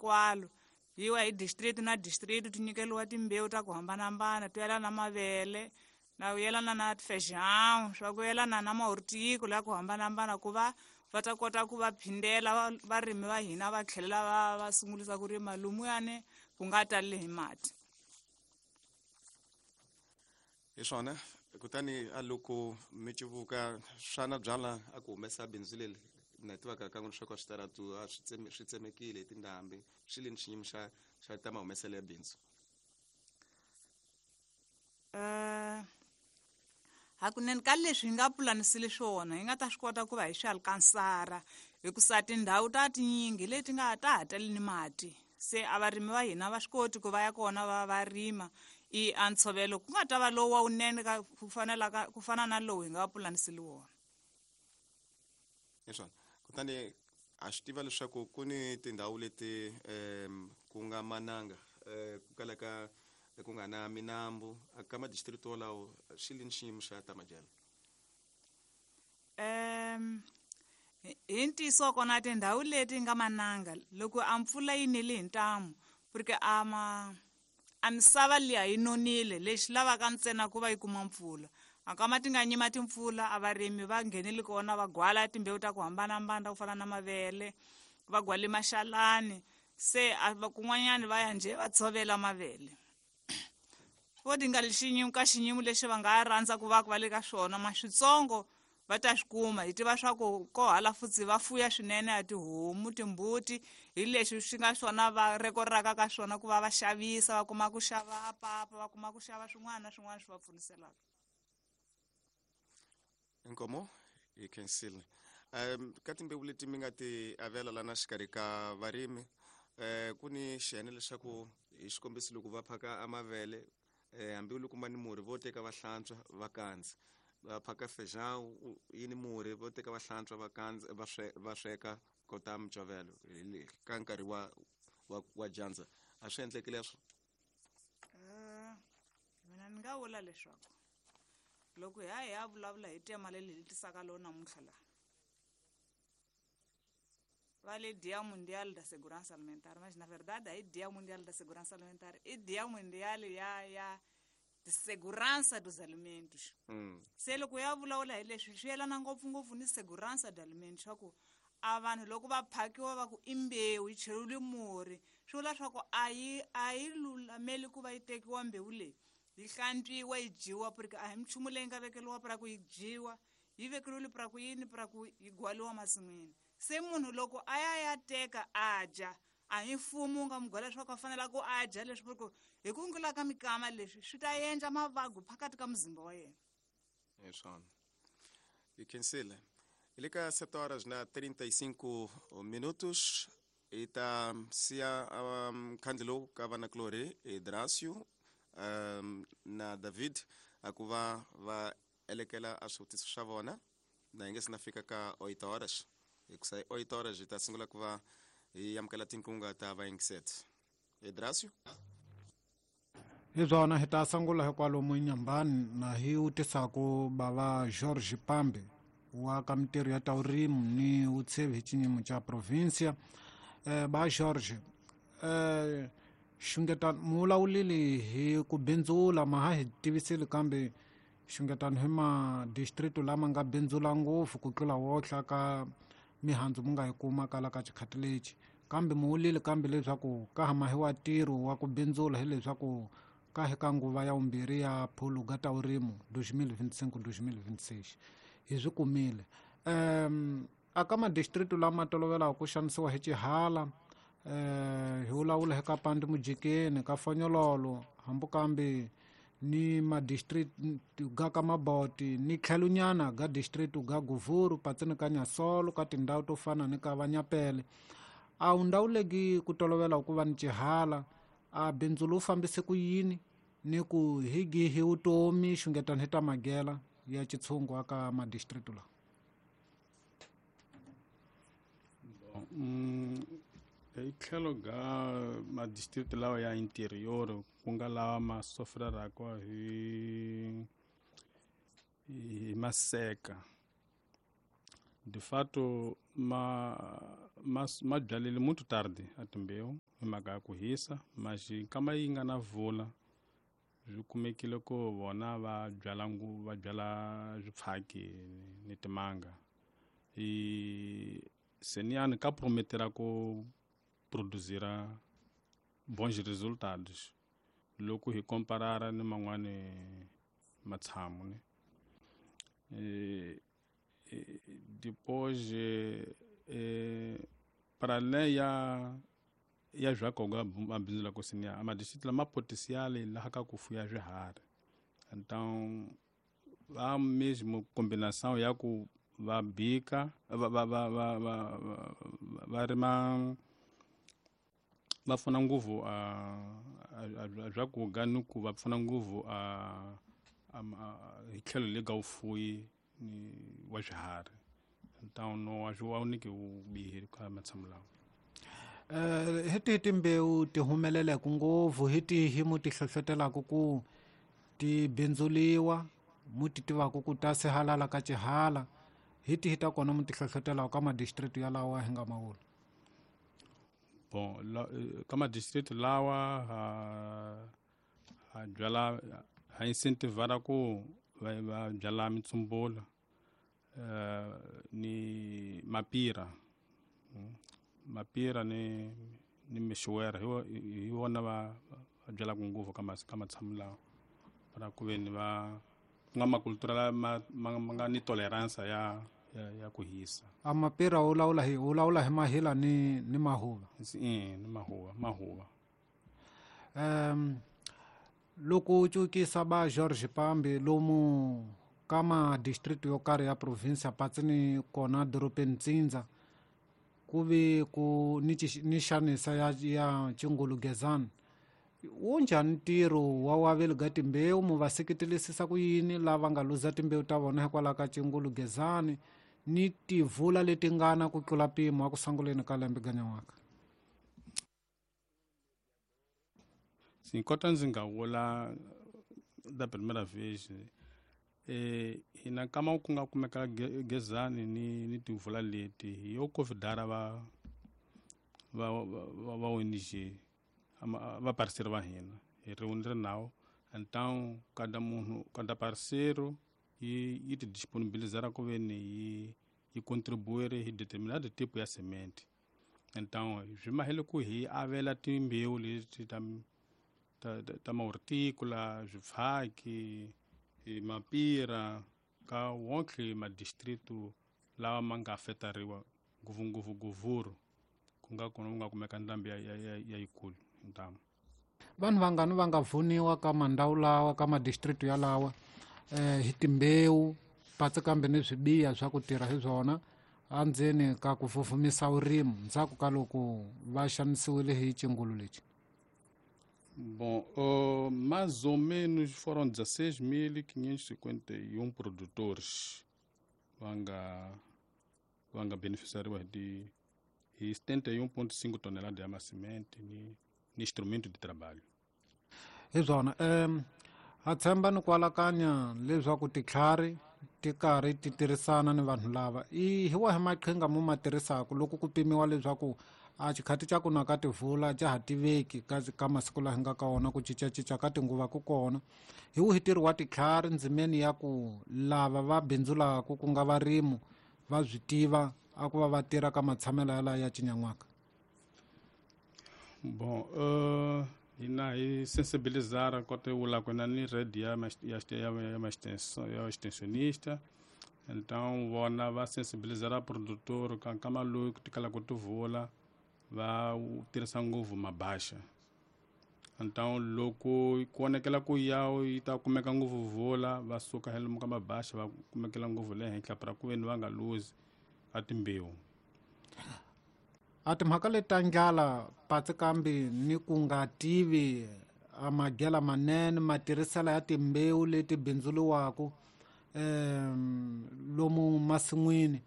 Hinkwalo yiwa hi district na district, ti nyikeliwa timbewu ta ku hambanahambana to yelana na mavele, na ku yelana na feijão, swa ku yelana na mahortico ya ku hambanahambana, ku va va ta kota ku va phindela varimi va hina va tlhelela va sungulisa ku rima lumuyani ku nga taleli hi mati. Hi swona. Kutani a loko mi civuka swana byala a ku humesa bindzu leri na tivaka kan'we leswaku a switaratu a swi tsemekile hi tindhambi, swi le ni xiyimo xa ta mahumeselo ya bindzu? Hakunene ka leswi hi nga pulanisile swona hi nga ta swi kota ku va hi swi alkansara, hikusa tindhawu ta tinyingi leti nga ta ha tali ni mati, se a varimi va hina va swi koti ku va ya kona va rima. I a ntshovelo ku nga ta va lowu wa wunene ka ku fanelaka ku fana na lowu hi nga pulanisile wona. Hi swona. Kutani ha swi tiva leswaku ku ni tindhawu leti ku nga mananga, ku kalaka ku nga na minambu ka madistrict wolawo, swi le ni xiyimo xa ta madyelo? Hi ntiyiso kona tindhawu leti nga mananga loko a mpfula yi nile hi ntamu, porque a ma a misava liya yi nonile, lexi lavaka ntsena ku va yi kuma mpfula. A kama ti nga nyima timpfula, a varimi va nghenile kona va gwala timbewu ta ku hambanahambana ta ku fana na mavele, va gwale maxalani, se a va kun'wanyani va ya njhe va tshovela mavele. Vo ti nga xiyimo ka xiyimo lexi va nga rhandza ku va ku va le ka swona, ma switsongo va ta swi kuma. Hi tiva swa ku ko hala futsi va fuya swinene ya tihomu, timbuti, hi leswi swi nga swona va rekoraka ka swona ku va va xavisa, va kuma ku xava papa, va kuma ku xava swin'wana na swin'wana swi va pfuniselaka. Inkomo hi khensile. Ka timbewu leti mi nga ti avela lana xikarhi ka varimi, ku ni xiyenge leswaku hi xikombiso loko va phaka amavele, hambi loko ma ni murhi vo teka va hlantswa va kandza, va phaka feijão yi ni murhi vo teka va hlantswa va kandza va sweka kota micovelo ka nkarhi wa dyandza. A swi endleki leswo? Mina ni nga vula leswaku loko hi ya hi ya vulavula hi tema leyi hi tisaka lowu namuntlha laha va le Dia Mundial da Segurança Alimentar, mas na verdade aí Dia Mundial da Segurança Alimentar i Dia Mundial ya de Segurança dos Alimentos. Se loko ya vulavula hi leswi swi yelana ngopfungopfu ni Segurança de Alimentos, swa ku a vanhu loko va phakiwa va ku i mbewu yi cheriwile murhi, swi vula swa ku a yi lulameli ku va yi tekiwa mbewu leyi yi hlantswiwa yi dyiwa, porque a hi minchumu leyi nga vekeriwa pra ku yi dyiwa, yi vekeriwile pra ku yini, pra ku yi gwaliwa masin'wini. Se munhu loko a ya ya teka a dya, a hi mfumo wu nga n'wi gwala leswaku a fanele ku a dya leswi, porque hi ku ngula ka mikama leswi swi ta endla mavabyi phakathi ka muzimba wa yena. Hi swona. Hi khensile. Hi le ka 7 horas na 35 minutos. Hi ta siya khandle lowu ka vanakulorhi Dracio na David a ku va va elekela a swivutiso swa vona na hi nge se na fika ka 8 horas, hikusa hi 8 horas hi ta sungula ku va hi amukela tinkunga ta vayingiseti. Dracio? Hi swona, hi ta sungula hi kwalomu Nyambani na hi vutisaku bava George Pambe wa ka mintirho ya ta vurimi ni vutshevi hi xiyimo xa provincia. Ba George, xungetano mi vulavulile hi ku bindzula, ma ha hi tivisile, kambe xungetano hi ma district lama nga bindzula ngopfu ku tlula wohla ka mihandzu mi nga yi kuma kala ka xikhati lexi, kambe mi vulile kambe leswaku ka ha mahiwa ntirho wa ku bindzula, hileswaku ka hi ka nguva ya vumbirhi ya phuluga ta vurimi 2025-2026 hi swi kumile. A ka madistrict lama tolovelaka ku xanisiwa hi xihala, hi vulavula hi ka Pandi Mujikeni, ka Fonyololo, hambi kambe ni madistrict ga ka Maboti ni tlhelonyana ga district ga Guvuru, patsini ka Nyasolo, ka tindhawu to fana ni ka Vanyapele. A wu ndhawu legi ku tolovela ku va ni xihala, a bindzu lowu fambise ku yini ni ku hi gihi vutomi xungetano hi ta magela ya xitshungu aka madistrict lawa? Hi tlhelo ga madistrict lawa ya interior, ku nga lawa ma sofreraka hi maseka, De fato ma byalile muito tarde a timbewu hi mhaka ya ku hisa, mas nkama yi nga na vula swi kumekile ku vona va byala va byala swipfhaki ni timanga. E seniani ka prometera ku produzira bons resultados loko hi komparara ni man'wani matshamu ne. Depois para além ya swakoga mabindzu la kusiniya a madistrito lama potencial laha ka ku fuya swiharhi. Então há mesmo combinação ya ku va bika va rima va pfuna ngopfu a swakudya ni ku va pfuna ngopfu a hi tlhelo le ka vufuwi ni wa swiharhi. Então no a swi voniki vubihi ka matshamu lawa. Hi tihi timbewu ti humeleleke ngopfu, hi tihi mu ti hlohlotelaka ku ti bindzuliwa, mu ti tivaka ku ta sihalala ka xihala, hi tihi ta kona mu ti hlohlotelaka ka madistrito yalawa hi nga ma vula? Bon, ka madistrito lawa ha byala, ha incentivara ku va byala mitsumbula ni mapira. Mapira ni mixuwera hi vona va byalaka ngopfu ka matshamu lawa, para ku ve ni va ku nga makultura lama ma nga ni tolerance ya ku hisa. A mapira u lawula hi mahila ni mahuva. Ni mahuva. Loko u cukisa ba George Pambi lomu ka madistrito yo karhi ya province patsi ni kona dorobeni Ntsindza, ku ve ku ni xanisa ya Chingulugezana, wu njhani ntirho wa waveli ga timbewu? Mu va seketelisisa ku yini lava nga luza timbewu ta vona hikwalaho ka Chingulugezani ni tivula leti ngana ku tlula mpimo a ku sunguleni ka lembe ganyan'waka? Sim, kota ndzi nga vula da primeira vez hina kama ku nga kumeka gezani ni tivula leti hi yo convidar va ONG va parceiro va hina hi ri nawu. Então cada munhu, cada parceiro yi ti disponibilizar ku ve ni yi contribuir hi determinado tipo ya semente. Então swi mahele ku hi avela timbewu leti ta mahortícola, swifaki, mapira ka wonke madistrito lawa ma nga afetariwa ngopfungopfu Govuro ku nga kona ku nga kumeka ndhambi ya yikulu ntamu. Vanhu vangani va nga vuniwa ka mandhawu lawa ka madistrito yalawa hi timbewu patsi kambe ni swibiya swa ku tirha hi swona andzeni ka ku fufumisa vurimi ndzhaku ka loko va xanisiwile hi xingulu lexi? Bom, mais ou menos foram 16.551 produtores vanga beneficiariwa de 71,5 toneladas de semente ni instrumento de trabalho. Hi swona, ha tshemba ni ku alakanya leswaku titlhari ti karhi ti tirhisana ni vanhu lava. I hi wahi maqhinga mo ma tirhisaka loko ku pimiwa leswaku a xikhati xa ku na ka tivula xa ha tiveki ka masiku laha hi nga ka wona, ku cincacinca ka tinguva ku kona, hi wihi ntirho wa titlhari ndzimeni ya ku lava va bindzulaka ku nga varimi va swi tiva a ku va va tirha ka matshamelo yalawa ya cinyan'waka? Bom, hina hi sensibilizar kota vula ku na ni rede ya extensionista. Então vona va sensibilizar produtor ka nkama lowu ku tikala ku tivula va tirhisa ngopfu mabaxa. Então loko ku vonakela ku ya yi ta kumeka ngopfu vula va suka hi lomu ka mabaxa va kumekela ngopfu le henhla para ku veni va nga luzi a timbewu. A timhaka leti ta ndlala patsi kambe ni ku nga tivi a madyela manene matirhiselo ya timbewu leti bindzuliwaka lomu masin'wini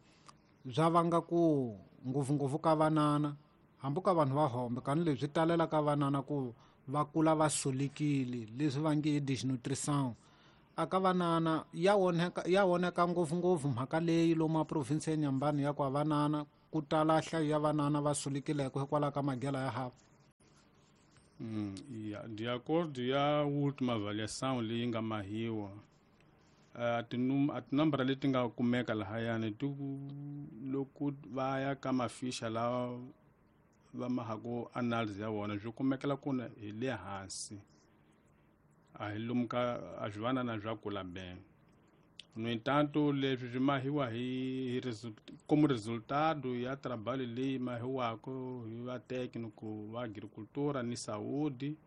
bya vanga ku ngopfungopfu ka vanana hambi ka vanhu va hombe kani leswi talela ka vanana ku va kula va solekile leswi va nge i desnutrition. Aka vanana ya voneka ngopfungopfu mhaka leyi lomu a province ya Nyambani ya ku vanana ku tala nhlayo ya vanana va sulekileke hikwalaho ka magela ya hava. De acordo ya última avaliação leyi nga mahiwa, a tinambara leti nga kumeka lahayani ti loko va ya ka mafisha lawa va mahaku analysis ya vona swi kumekela kuna hi le hansi, a hi lomu ka a swi vanana swa kula bem. No entanto, leswi swi mahiwa hi como resultado ya trabalho leyi mahiwaka hi va técnico va agricultura ni saúde,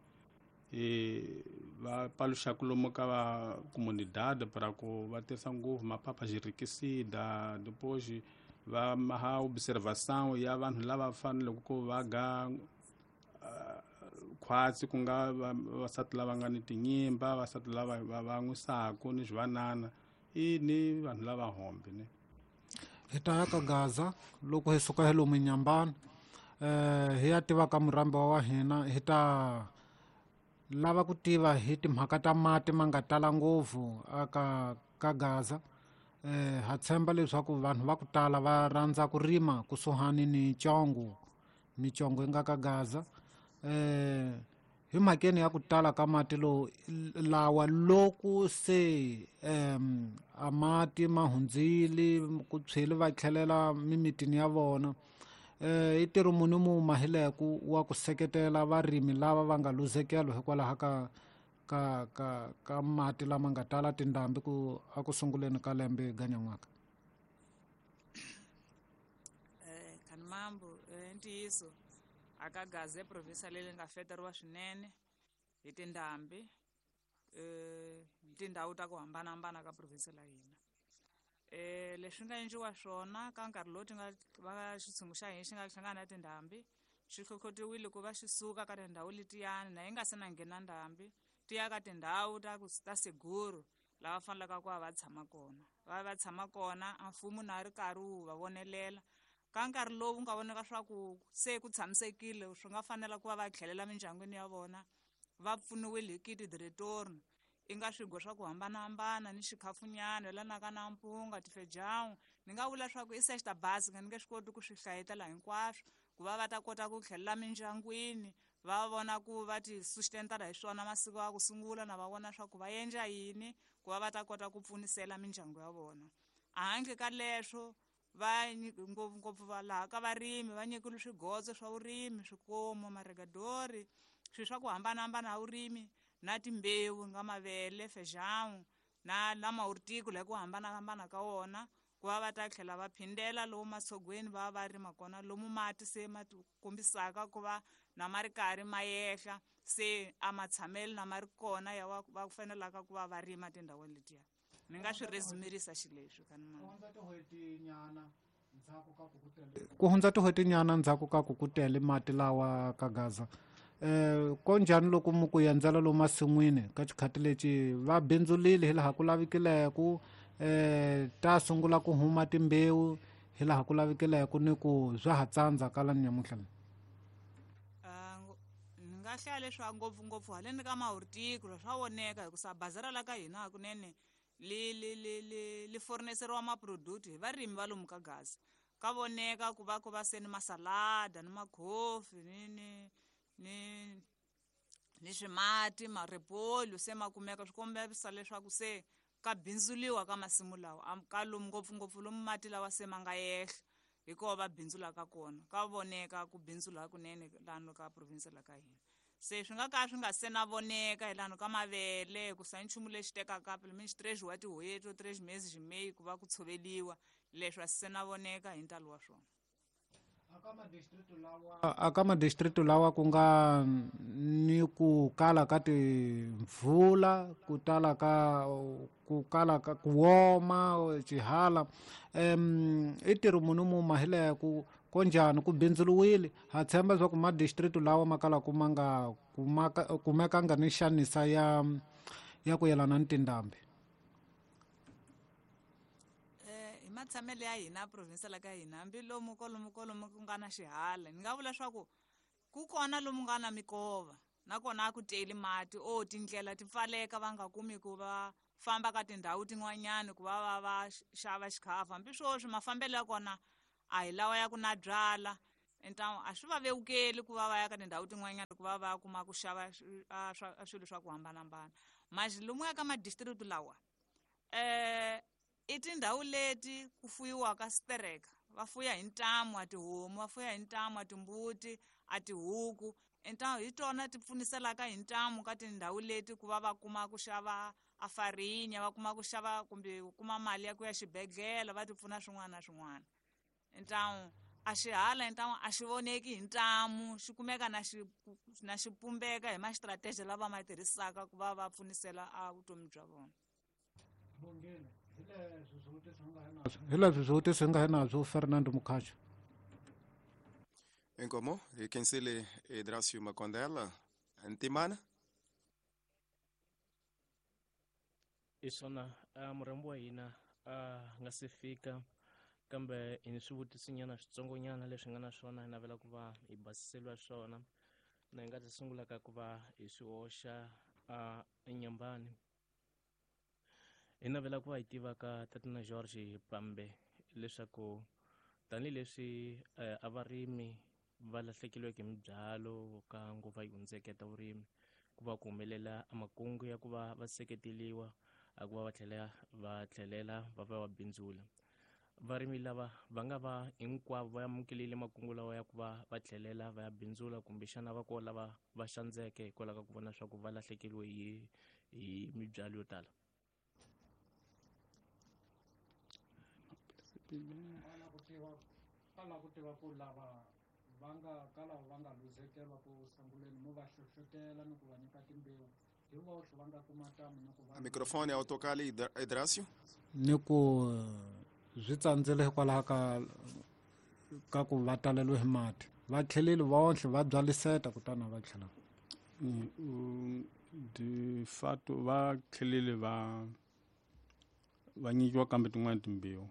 va paluxaka lomu ka va comunidade para ku va tirhisa ngopfu mapapa xirikisida, depois va maha observação ya vanhu lava faneleke ku va ga khwatsi, ku nga vavasati lava nga ni tinyimba, vavasati lava va n'wisaku ni swivanana i ni vanhu lava hombe ne. Hi ta ya ka Gaza loko hi suka hi lomu Nyambani, hi ya tiva ka murhambi wa hina, hi ta lava ku tiva hi timhaka ta mati ma nga tala ngopfu aka ka Gaza. Ha tshemba leswaku vanhu va ku tala va rhandza ku rima kusuhani ni Congo, micongo yi nga ka Gaza. Hi mhakeni ya ku tala ka mati lo lawa loko se a mati ma hundzile ku tshweli va tlhelela mimitini ya vona, i ntirho muni mu mahileku wa ku seketela varimi lava va nga luzekelo hikwalaho ka ka ka ka mati lama nga tala tindhambi ku a ku sunguleni ka lembe ganyan'waka? Khanimambo, ntiyiso aka Gaza province leyi nga feteriwa swinene hi tindhambi, tindhawu ta ku hambanahambana ka province la hina. Leswi nga endliwa swona ka nkarhi lowu ti nga va xitshungu xa hina xi nga hlangana na tindhambi, xi hlohlotiwile ku va xi suka ka tindhawu letiyani na yi nga se na nghena ndhambi, ti ya ka tindhawu ta seguro lava fanelaka ku va va tshama kona. Va tshama kona, a mfumo na ri karhi wu va vonelela. Ka nkarhi lowu nga vonaka swa ku se ku tshamisekile, swi nga fanela ku va va tlhelela mindyangwini ya vona, va pfuniwile hi kiti de retorno, i nga swigwa swa ku hambanahambana ni xikhafunyana yelanaka na mpunga tifejawu. Ni nga vula swa ku i sexta basi, ni nge swi koti ku swi hlayetela hinkwaswo, ku va va ta kota ku tlhelela mindyangwini, va vona ku va ti sustentara hi swona masiku ya ku sungula, na va vona swa ku va endla yini ku va va ta kota ku pfunisela mindyangu ya vona. Handle ka leswo, va ngopfungopfu va laha ka varimi va nyikile swigotso swa vurimi, swikomo, maregadori, swilo swa ku hambanahambana ha vurimi na timbewu nga mavele, fejawu na lama horticola hi ku hambanahambana ka wona, ku va va ta tlhela va phindela lomu matshogweni va va rima kona, lomu mati se ma kombisaka ku va na ma ri karhi ma yehla, se a matshamelo na ma ri kona ya va fanelaka ku va va rima tindhawini letiya. Ni nga swi resumirisa xileswi ku hundza tin'hwetinyana ndzhaku ka ku ku tele mati lawa ka Gaza. Ko njhani loko mu ku endzela lomu masin'wini ka xikhati lexi va bindzulile hi laha ku lavikileke, ta sungula ku huma timbewu hi laha ku lavikileke ni ku swa ha tsandza ka la nyamuntlha? Ni nga hlaya leswaku ngopfungopfu haleni ka mahorticola swa voneka, hikusa bazara la ka hina hakunene li forneseriwa maproduct hi varimi va lomu ka Gaza. Ka voneka ku va ku va se ni masalada ni makhofi ni ni ni swimati marepolyo se ma kumeka, swi kombisa leswaku se ka bindzuliwa ka masimu lawa ka lomu ngopfungopfu lomu mati lawa se ma nga yehla, hi kona va bindzulaka kona. Ka voneka ku bindzula hakunene lano ka province la ka hina. Se swi nga ka swi nga se na voneka hi lano ka mavele, hikusa i nchumu lexi tekaka pelo menos 3 wa tin'hweti, 3 meses hi meyi ku va ku tshoveliwa, leswi a swi se na voneka hi ntalo wa swona. Aka madistrito lawa ku nga ni ku kala ka timpfula, ku tala ka ku kala ka ku woma xihala, i ntirho muni mu mahileke ko njhani ku bindzuriwile? Ha tshemba leswaku madistrito lawa ma kalaka ma nga kumekanga ni xanisa ya ku yelana ni tindhambi. Hi matshamelo ya hina province la ka hina, hambi lomu kolomu kolomu ku nga na xihala, ni nga vula leswaku ku kona lomu nga na mikova, nakona a ku teli mati, o tindlela ti pfaleka va nga kumi ku va famba ka tindhawu tin'wanyani ku va va va xava xikhafu. Hambi sweswi mafambelo ya kona a hi lawa ya ku na byala, então a swi va vevukeli ku va va ya ka tindhawu tin'wanyana ku va va kuma ku xava swilo swa ku hambanahambana. Mas lomuya ka madistrict lawa i tindhawu leti ku fuyiwaka stereka, va fuya hi ntamu a tihomu, va fuya hi ntamu a timbuti, a tihuku. Então hi tona ti pfuniselaka hi ntamu ka tindhawu leti ku va va kuma ku xava a farinya, va kuma ku xava kumbe ku kuma mali ya ku ya xibedhlele, va ti pfuna swin'wana na swin'wana. Então a xihala então a xi voneki hi ntamu, xi kumeka na xi na xi pumbeka hi ma-strategy lava ma tirhisaka ku va va pfunisela a vutomi bya vona. Hi leswi swivutiso hi nga hi nabyo Fernando Mukhacho. Inkomo hi khensile Idrasio Makondela. Ntimana hi swona murhambi wa hina a nga se fika, kambe hi ni swivutisonyana switsongonyana leswi nga na swona hi navela ku va hi basiseliwa swona, na hi nga ta sungula ka ku va hi swi hoxa enyambani. Hi navela ku va hi tiva ka Tatana George Pambe leswaku tanihileswi a varimi va lahlekeriweke hi mibyalo ka nguva yi hundzeke ta vurimi, ku va ku humelela makungu ya ku va va seketeliwa a ku va va tlhelela va va va bindzula. Varimi lava va nga va hinkwavo va amukelile makungu lawa ya ku va va tlhelela va ya bindzula, kumbexana va kona lava va xandzeke hikwalaho ka ku vona swa ku va lahlekeriwe hi mibyalo yo tala. Ala ku tiva ku lava va nga ka lava va nga luzekela ku sunguleni mo va hlohlotela ni ku va nyika timbewu hi voxe va nga kuma tamu ni ku va microfone ya autocali Idrasio ni ku swi tsandzile hikwalaho ka ku va taleliwe hi mati, va tlheleli vonhle va byaliseta kutani va tlhela. De fato va tlhelele va nyikiwa kambe tin'wana timbewu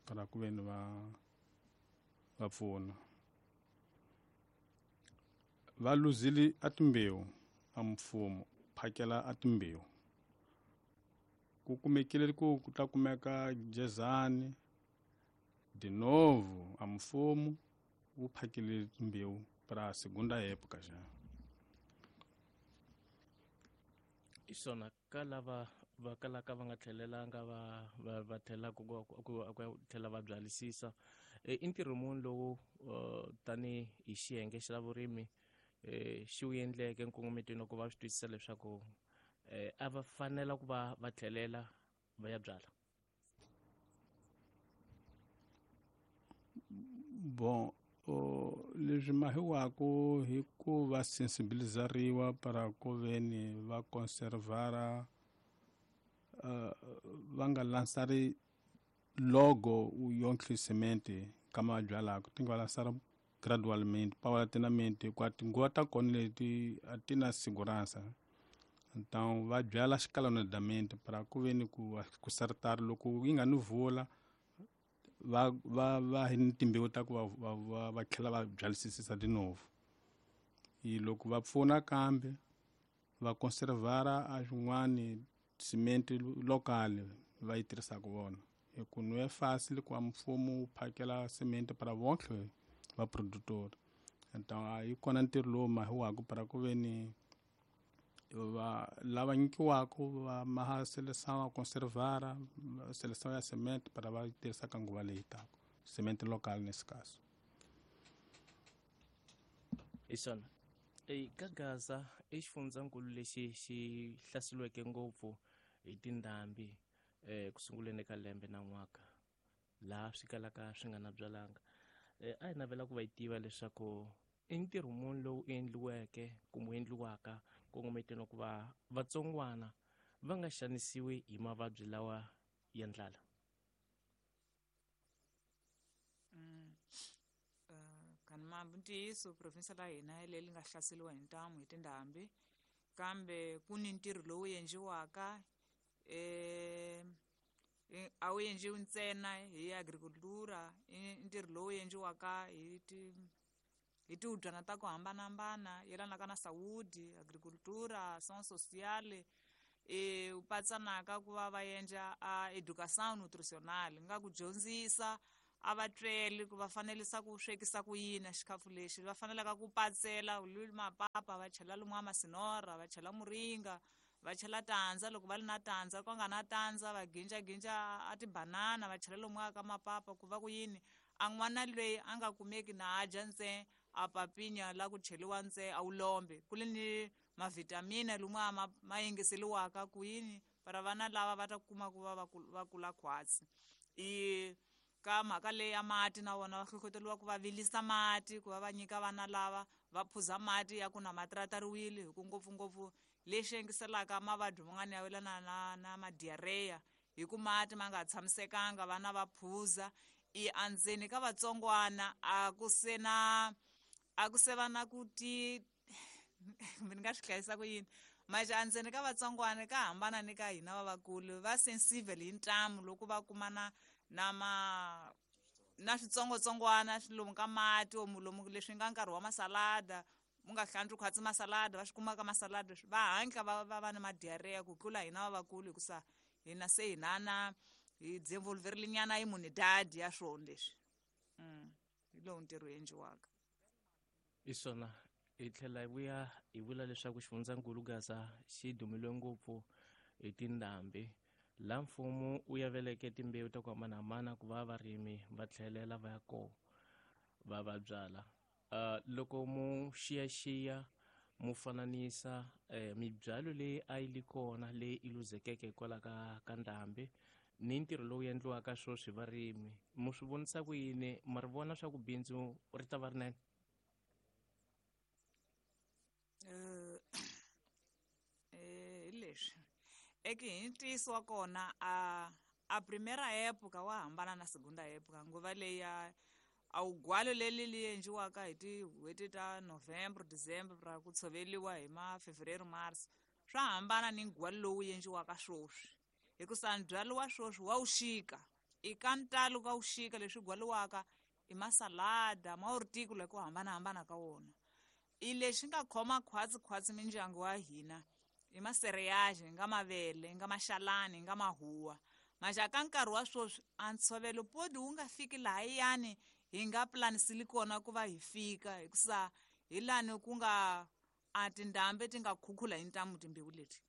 para ku veni va pfuna. Va luzile a timbewu a mfumo phakela a timbewu, ku kumekile ku ta kumeka jezani de novo a mfumo wu phakele timbewu para segunda época já. Hi swona ka lava va kalaka va nga tlhelelanga va tlhela ku tlhela va byalisisa, i ntirho muni lowu tani hi xiyenge xa vurimi xi wu endleke nkongometweni ku va swi twisisa leswaku a va fanela ku va va tlhelela va ya byala? Bon, leswi mahiwako hi ku va sensibilizariwa para ku veni va conservara, va nga lansari logo yonke semente kama byalaka, ti nga lansara gradualmente paulatinamente, hikuva tinguva ta kona leti a ti na segurança. Então va byala escalonadamente para ku veni ku sartar loko yi nga ni vula va va va hi ni timbewu ta ku va tlhela va byalisisisa de novo. I loko va pfuna kambe va conservara a swin'wani cement local va yi tirhisaka vona, hi ku no é fácil ku mfumo wu phakela cement para vonke va produtor. Então yi kona ntirho lowu mahiwaka para ku veni va lava nyikiwaka va maha seleção a conservara seleção ya cement para va tirhisa ka nguva leyi taka, cement local nesse caso. Hi swona ka Gaza i xifundzankulu lexi xi hlaseriweke ngopfu hi tindhambi ku sunguleni ka lembe na n'waka, laha swi kalaka swi nga na byalanga. A hi navela ku va yi tiva leswaku i ntirho muni lowu endliweke kumbe endliwaka kongometeni ku va vatsongwana va nga xanisiwi hi mavabyi lawa ya ndlala. Kanimambi ntiyiso province la hina leri nga hlaseriwa hi ntamu hi tindhambi, kambe ku ni ntirho lowu endliwaka a wu endliwi ntsena hi agricultura, i ntirho lowu endliwaka hi hi tihubyana ta ku hambanahambana yelanaka na saúde, agricultura, ação social. Patsanaka ku va va endla a educação nutricional, nga ku dyondzisa a va tweli ku va fanelisa ku swekisa ku yini xikhafu lexi, va fanelaka ku patsela mapapa, va chela lomu masinora, va chela muringa, va chela tandza loko va ri na tandza, ku nga na tandza va ginjaginja a tibanana va chela lomu ka mapapa, ku va ku yini a n'wana loyi a nga kumeki na a dya ntse a papinya la ku cheliwa ntse a wu lombe, ku le ni mavitamina lomu ma yingiseliwaka ku yini para vana lava va ta kuma ku va va kula khwatsi. I ka mhaka leyi ya mati na vona va hlohloteriwa ku va vilisa mati, ku va va nyika vana lava va phuza mati ya ku na matratariwile, hi ku ngopfungopfu lexi yengiselaka mavabyi man'wana ya welana na madiarrhea, hi ku mati ma nga tshamisekanga vana va phuza. I andzeni ka vatsongwana a ku se na a ku se va na ku ti ni nga swi hlayisa ku yini, maxa andzeni ka vatsongwana ka hambana ni ka hina vavakulu, va sensible hi ntamu loko va kumana na ma na switsongwatsongwana lomu ka mati lomu leswi nga nkarhi wa masalada, mu nga hlantswi khwatsi masalada, va swi kuma ka masalada va hatla va va na madiarrhea ku tlula hina vavakulu, hikusa hina se hina na hi desenvolverile nyana immunidade ya swona leswi. Hi lowu ntirho endliwaka. Hi swona hi tlhela hi vuya hi vula leswaku xifundzankulu Gaza xi dumile ngopfu hi tindhambi, laha mfumo wu yaveleke timbewu ta ku hambanahambana ku va varimi va tlhelela va ya kona va va byala. Loko mu xiyaxiya mu fananisa mibyalo leyi a yi li kona leyi i luzekeke hikwalaho ka ndhambi ni ntirho lowu endliwaka sweswi varimi, mu swi vonisa ku yini? Ma ri vona swa ku bindzu ri ta va rinene? Hi leswi eke hi ntiyiso wa kona a primera época wa hambana na segunda época, nguva leyi a wugwalo leri li endliwaka hi tin'hweti ta November, December ra ku tshoveriwa hi ma Fevereiro, March, swa hambana ni ndzhwalo lowu endliwaka sweswi, hikusa ndzhwalo wa sweswi wa wuxika, i ka ntalo ka wuxika leswi gwaliwaka i masalada ma horticola ku hambanahambana ka wona. I lexi nga khoma khwatsi khwatsi mindyangu wa hina i masereyaji, nga mavele, nga maxalani, nga mahuwa. Maxa ka nkarhi wa sweswi a ntshovelo podi wu nga fiki lahayani hi nga planisili kona ku va hi fika, hikusa hi lani ku nga a tindhambi ti nga khukhula hi ntamu timbewu leti.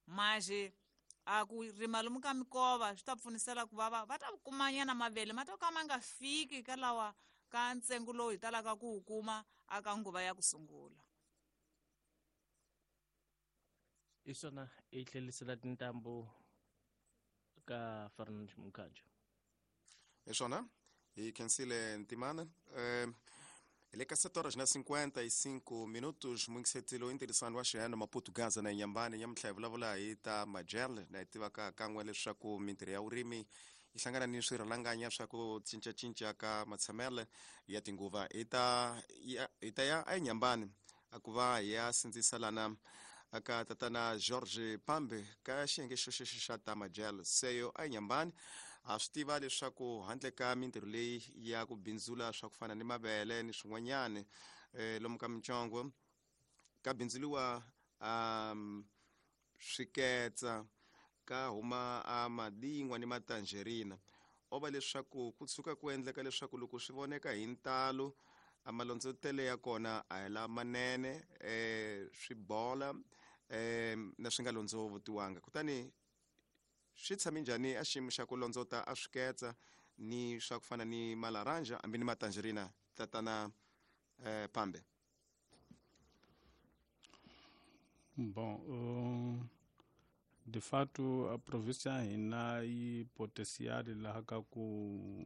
Maxe a ku rima lomu ka mikova swi ta pfunisela ku va va ta kumanyana mavele ma ta ka ma nga fiki ka lawa ka ntsengo lowu hi talaka ku wu kuma aka nguva ya ku sungula. Hi swona hi tlhelisela tintambu ka Fernand Mukhanjo. Hi swona hi khensile Ntimana. Hi le ka 7 horas na 55 minutos, muyingisetilo intirhisano wa xihano Maputo Gaza na Inhambane nyamuntlha hi vulavula hi ta majel, na hi tivaka kan'we leswaku mintirho ya vurimi yi hlangana ni swirhalanganya swa ku cincacinca ka matshamelo ya tinguva. Hi ta ya eNyambani a ku va hi ya sindzisa lana aka tatana George Pambe ka xiyenge xo xexo xa ta majel seyo eNyambani. A swi tiva leswaku handle ka mintirho leyi ya ku bindzula swa ku fana ni mavele ni swin'wanyani lomu ka mintsongo ka bindzuliwa swiketsa, ka huma a madingwa ni matangerina. O va leswaku ku tshuka ku endleka leswaku loko swi voneka hi ntalo a malondzotele ya kona a hi lamanene, swi bola na swi nga londzovotiwanga. Kutani swi tshame njhani a xiyimo xa ku londzota a swiketsa ni swa ku fana ni malaranja hambi ni matangerina, tatana Pambe? Bom, de fato a província ya hina yi potencial laha ka ku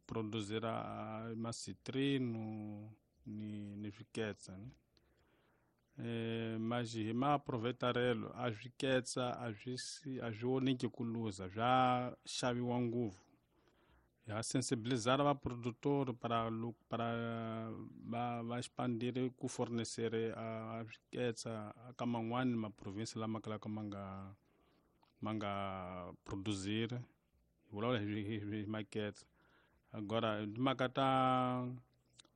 produzira macitrino ni swiketsa, ne? Mas hi maaproveitarelo a swiketsa a swi voneki ku luza, swa xaviwa ngopfu. Ha sensibilizar va produtor para va expandire ku fornecer a swiketsa ka man'wani ma province lama kalaka ma nga produzir, hi vulavula hi maketsa. Agora timhaka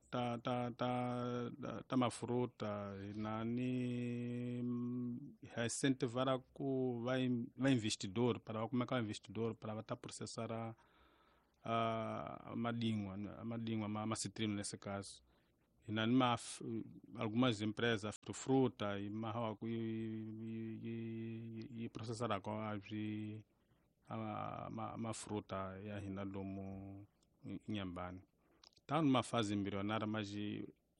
ta ta ta ta mafruta na ni ha incentivara ku va va investidor para va kumeka investidor para va ta processar a madingwa ma citrino nesse caso. E na ma algumas empresas de fruta e ma e processar com a ma fruta ya hina lomu Inhambane. Tá numa fase embrionária, mas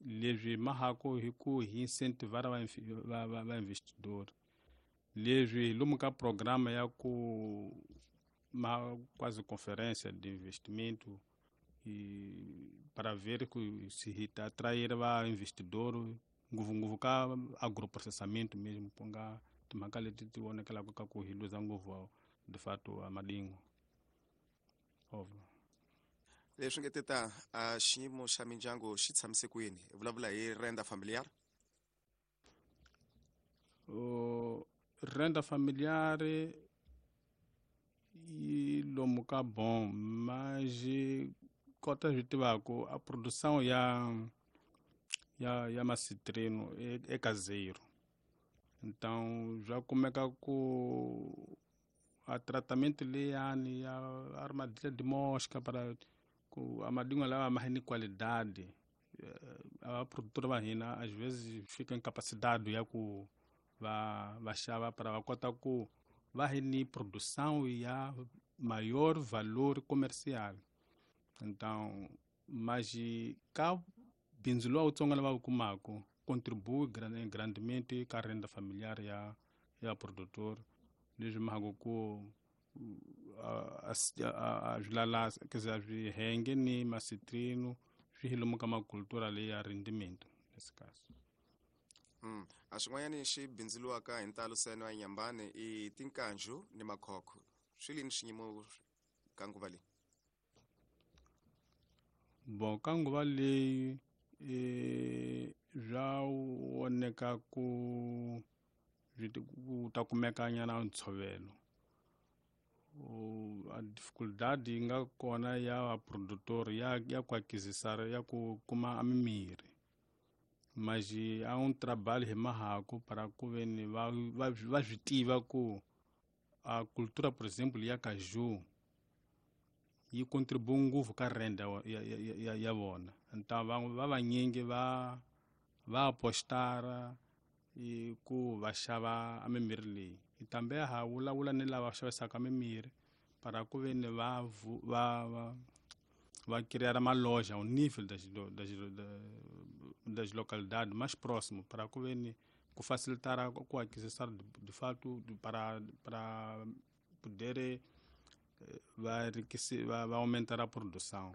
leswi mahako hi ku hi incentivar va investidor. Leswi lomu ka programa ya ku ma quase conferência de investimento e para ver que se atrair va investidor ngopfungopfu ka agroprocessamento mesmo ku nga timhaka leti ti vonekelaka ka ku hi luza ngopfu de fato a madingo. Óbvio. Leswi nge teta a xiyimo xa mindyangu xi tshamise kwini? Hi vulavula hi renda familiar. Renda familiar yi lomu ka bom, mas kota swi tivaka a produção ya macitrino é caseiro. Então já kumeka ku a tratamento leyani ya armadilha de mosca para ku a madingo lawa ma ni qualidade. A produtora va hina às vezes fica incapacidade ya ku va xava para va kota ku va hi ni produção ya maior valor comercial. Então, mas ka bindzu lowu wutsongo lava wu kumaka contribui grandemente ka renda familiar ya produtor. Leswi mhaka ku a swi quer dizer, a swi henge ni macitrino swi hi lomu ka macultura leyi ya rendimento nesse caso. A xin'wanyani xi bindzuriwaka hi ntalo seno ya Inhambane i tinkanju ni makhokho. Swi lini xiyimo ka nguva leyi? Bom, ka nguva leyi swa voneka ku ku ta kumeka nyana ntshovelo. A dificuldade yi nga kona ya vaprodutor ya ku aquisitar ya ku kuma mimirhi. Mas há um trabalho hi mahako para ku veni va swi tiva ku a cultura, por exemplo, ya caju yi contribui ngopfu ka renda ya vona. Então va vanyingi va apostara ku va xava a mimirhi leyi. Tambe ha vulavula ni lava xavisaka mimirhi para ku veni va criar uma loja ao nível das localidades mais próximo para ku veni ku facilitar ku aquisição de fato para poder va aumentar a produção.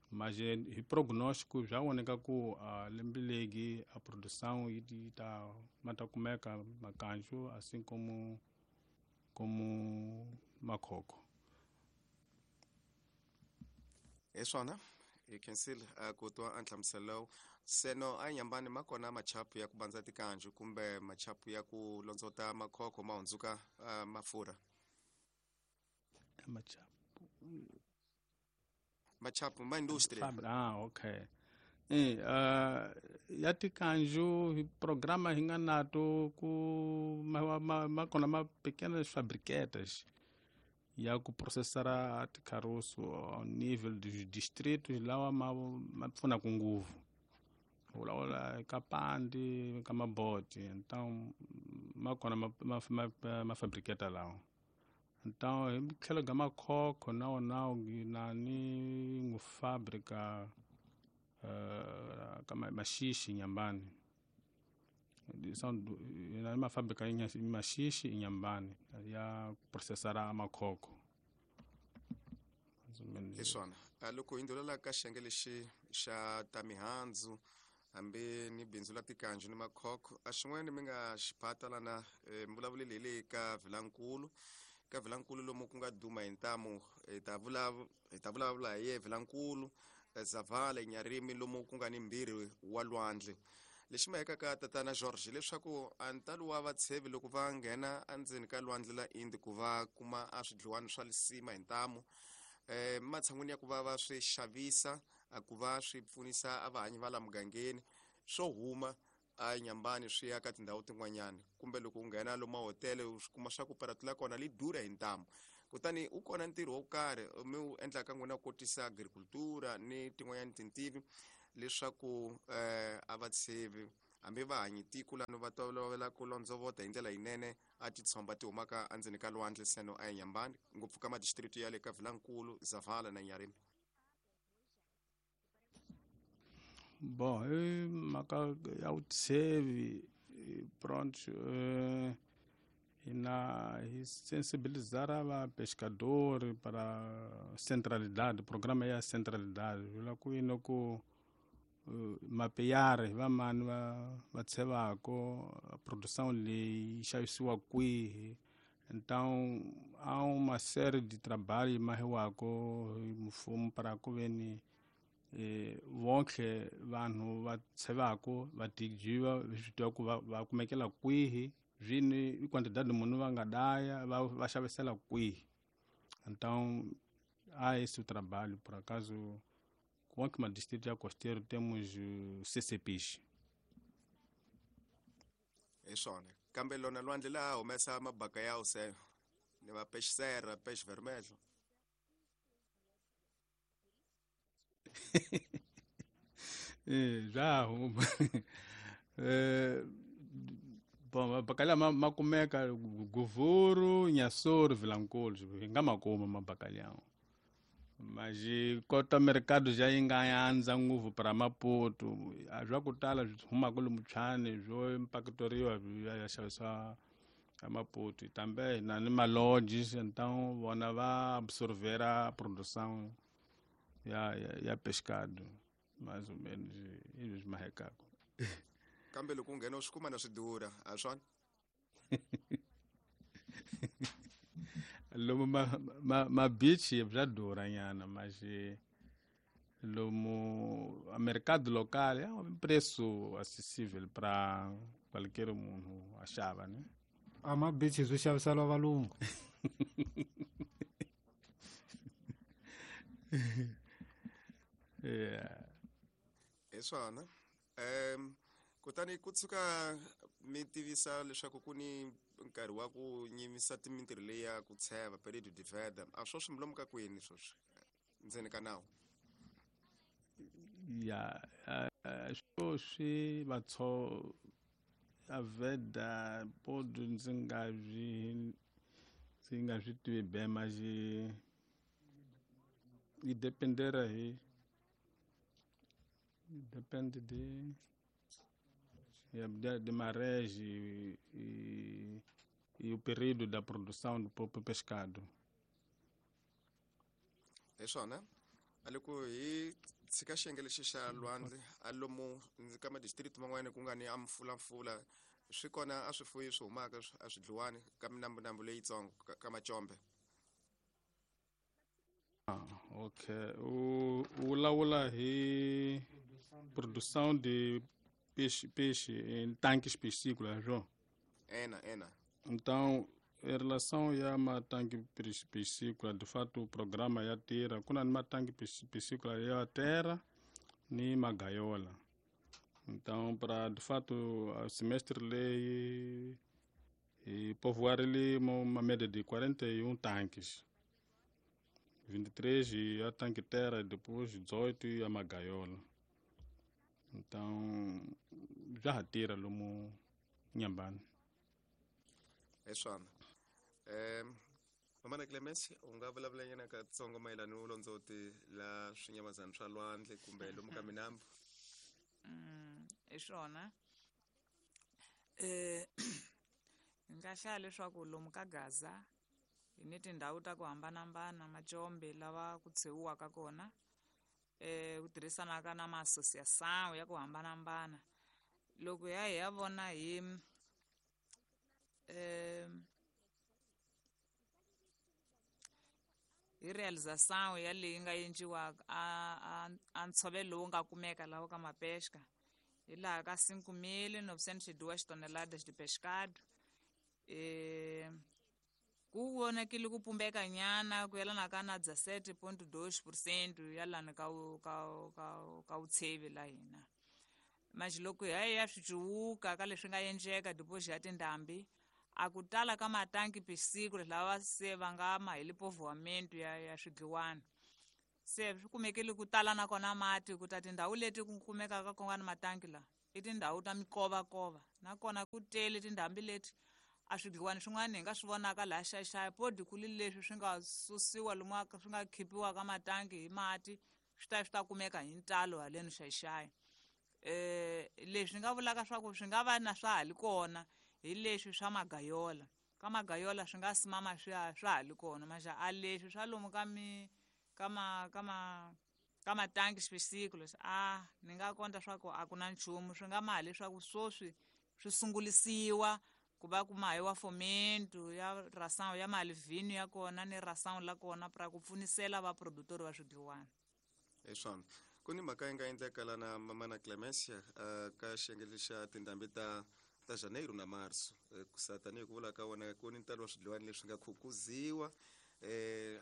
Mas hi prognóstico já voneka ku lembe legi a produção yi ta ma ta kumeka makanju assim como makhokho. Hi swona hi khensile ku twa a nhlamuselo seno a Inhambane ma kona machapu ya ku bandza tikanju kumbe machapu ya ku londzota makhokho ma hundzuka mafurha. Machapu ma industria. Okay. Ya tikanju hi programa hi nga nato ku ma kona ma pequenas fabriquetas ya ku processar ticaroço ao nível dos distritos lawa ma pfunaka ngopfu. Vulavula ka Pandi, ka Maboti, então ma kona ma fabriqueta lawa. Então hi tlhelo ka makhokho na wona na ni ngu fábrica ka Maxixi Inhambane. São na uma fábrica em Maxixi Inhambane ya processar makhokho. Hi swona. Loko hi ndhulela ka xiyenge lexi xa ta mihandzu hambi ni bindzu la tikanju ni makhokho a xin'wana mi nga xi phata lana mi vulavuleli hi le ka Vilankulu. Ka Vilankulu lomu ku nga duma hi ntamu hi ta vulavula hi ye Vilankulu Zavala Nyarimi lomu ku nga ni mbirhi wa lwandle. Lexi ma hekaka tatana George leswaku a ntalo wa vatshevi loko va nghena endzeni ka lwandle la Indi ku va kuma a swidliwani swa lisima hi ntamu matshan'wini ya ku va va swi xavisa a ku va swi pfunisa a vahanyi va la mugangeni swo huma a Nyambani swi ya ka tindhawu tin'wanyana, kumbe loko u nghena lomu mahotele u swi kuma swa ku paratula kona li durha hi ntamu. Kutani u kona ntirho wo karhi mi wu endlaka n'wina ku kotisa agricultura ni tin'wanyana tintivi leswaku a va tshevi hambi va hanyi tiko lano va tolovela ku londzovota hi ndlela yinene a titshomba ti humaka endzeni ka lwandle seno a Nyambani, ngopfu ka madistritu ya le ka Vilankulu, Zavala na Nyarim. Bom, hi mhaka ya vutshevi pronto hina hi sensibilizar va pescador para centralidade, programa ya centralidade vula ku yini ku mapeyari va mani va tshevako produção leyi xavisiwa kwihi. Então há uma série de trabalho mahiwako hi mfumo para ku veni vonke vanhu va tshevako va tijiva swi tiva ku va kumekela kwihi zvini i quantidade munhu va nga daya va xavisela kwihi. Então há esse trabalho, por acaso com o distrito ya costeiro temos CCPs. Hi swona, kambe lona lwandle laha humesa mabaka ya use ni va peixe serra, peixe vermelho. Já huma. Bom, mabacalhau ma kumeka Govuro, Inhassoro, Vilanculos, hi nga ma kuma mabacalhau. Mas kota mercado já yi nga andza ngopfu para Maputo, a swa ku tala swi humaka lomu Tshwane swo impactoriwa ya xavisiwa a Maputo. Também na ni malodges, então vona va absorvera a produção ya pescado, mais ou menos isso mahekako. Kambe loko u nghena u swi kuma na swi durha, a swona? Lomu ma beach bya durha nyana, mas lomu a mercado local é um preço acessível para qualquer munhu a xava, né? A ma beach swi xaviseriwa valungu. Yeah. Hi swona. Kutani ku tshuka mi tivisa leswaku ku ni nkarhi wa ku nyimisa mintirho leyi ya ku tsheva período de veda, a swo swi milomu ka kwini sweswi ndzeni ka nawu? Ya, swo swi vatso a veda podo ndzi nga swi tivi be, mas yi dependera hi depende de de marés e o período da produção do próprio pescado. Hi swona, a loko hi tshika xiyenge lexi xa lwandle a lomu ka madistrict man'wana ku nga ni a mfulamfula swi kona a swifuyi swi humaka a swi dliwani ka minambunambu leyitsongo ka macombe. Ok, u vulavula hi produção de peixe em tanques piscícolas, João? Ena. Então, em relação a uma tanque piscícola, de fato o programa ya tira, kuna ni matanque piscícola ya terra ni magaiola. Então, para de fato o semestre lei e povoar ele uma média de 41 tanques. 23 e a tanque terra, depois 18 e a magaiola. Então, já retira lomu Nyambani. Hi swona. Mamana Clemence, u nga vulavula nyana katsongo mayelana ni vulondzoti la swinyamazana swa lwandle kumbe lomu ka minambu? Hi swona. Hi nga hlaya leswaku lomu ka Gaza hi ni tindhawu ta ku hambanahambana macombe lava ku tshewiwaka kona, ku tirhisanaka na ma-associação ya ku hambanahambana. Loko hi ya vona hi hi realização ya leyi nga endliwaka a ntshovelo lowu nga kumeka laha ka mapesca hi laha ka 5.902 toneladas de pescado, Ku vonakile ku pumbeka nyana ku yelana ka na 17.2% ya lani ka ka vutshevi la hina. Manje loko hi ya swi cuwuka ka leswi nga endleka deposit ya tindhambi, a ku tala ka matanki pisiku lava se va nga ma hi lipovoamento ya swidliwana. Se swi kumekile ku tala na kona mati ku ta tindhawu leti ku kumekaka ku nga ni matanki la i tindhawu ta mikovakova, nakona ku tele tindhambi leti a swidliwani swin'wana hi nga swi vonaka laha Xai-Xai podi ku li leswi swi nga susiwa lomu swi nga khipiwa ka matanki hi mati swi ta kumeka hi ntalo haleni Xai-Xai. Leswi nga vulaka swa ku swi nga va na swa ha li kona hi leswi swa magayola. Ka magayola swi nga simama swa ha li kona, maxa a leswi swa lomu ka mi ka ma ka ma ka matanki xipesiku leswi a ni nga konta swa ku a ku na nchumu, swi nga ma leswaku swoswi swi sungulisiwa ku va ku mahiwa fomento ya ração ya malivhini ya kona ni ração la kona pra ku pfunisela va produtor va swidliwana. Hi swona ku ni mhaka yi nga endleka lana Mamana Clemencia ka xiyenge xa tindhambi ta Janeiro na Marso, ku sa tanihi ku vula ka wona ku ni ntalo wa swidliwani leswi nga khukuziwa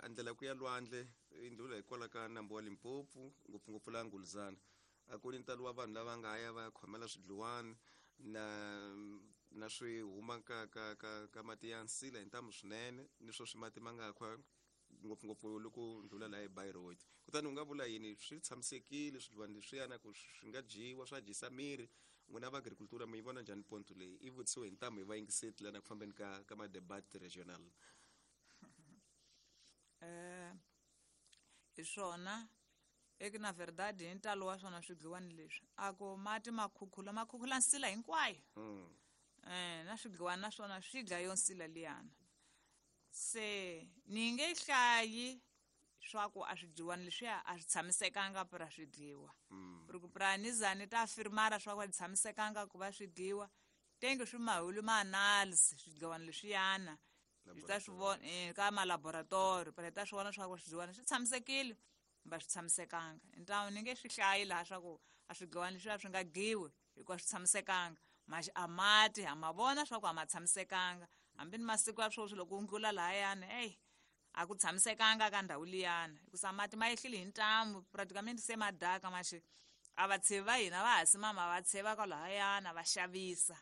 a ndlela ku ya lwandle i ndlula hikwalaho ka nambu wa Limpopo, ngopfungopfu la Nguluzana. A ku ni ntalo wa vanhu lava nga ya va ya khomela swidliwani na swi huma ka ka ka ka mati ya nsila hi ntamu swinene, ni swo swi mati ma nga khwa ngopfungopfu loko ndlula laha eBayreuth. Kutani u nga vula yini, swi tshamisekile swidliwani leswiyana ku swi nga dyiwa swa dyisa miri? N'wina va agricultura mi yi vona njhani ponto leyi? I vutisiwe hi ntamu hi vayingiseti lana ku fambeni ka ma-debat regional. Hi swona eka na verdade hi ntalo wa swona swidliwani leswi a ku mati ma khukhula nsila hinkwayo. Na swidliwani na swona swi dlaya yo nsila liyana. Se ni nge hlayi swa ku a swidliwani leswiya a swi tshamisekanga pra swi dliwa. Ku pra ni za ni ta firmara swa ku a tshamisekanga ku va swi dliwa, tenge swi mahulu ma analysis swidliwani leswiyana hi ta swi vona ka ma laboratory, pra hi ta swi vona swa ku swidliwani swi tshamisekile kumbe a swi tshamisekanga. Ntawu ni nge swi hlayi laha swa ku a swidliwani leswiya swi nga dyiwi hikuva swi tshamisekanga, maxi a mati ha ma vona swa ku a ma tshamisekanga. Hambi ni masiku ya sweswi loko u ndlula lahayani, eyi a ku tshamisekanga ka ndhawu liyana, hikusa mati ma yehlile hi ntamu praticamente se ma daka maxi a vatshevi va hina va ha simama va tsheva kwalahayana va xavisa.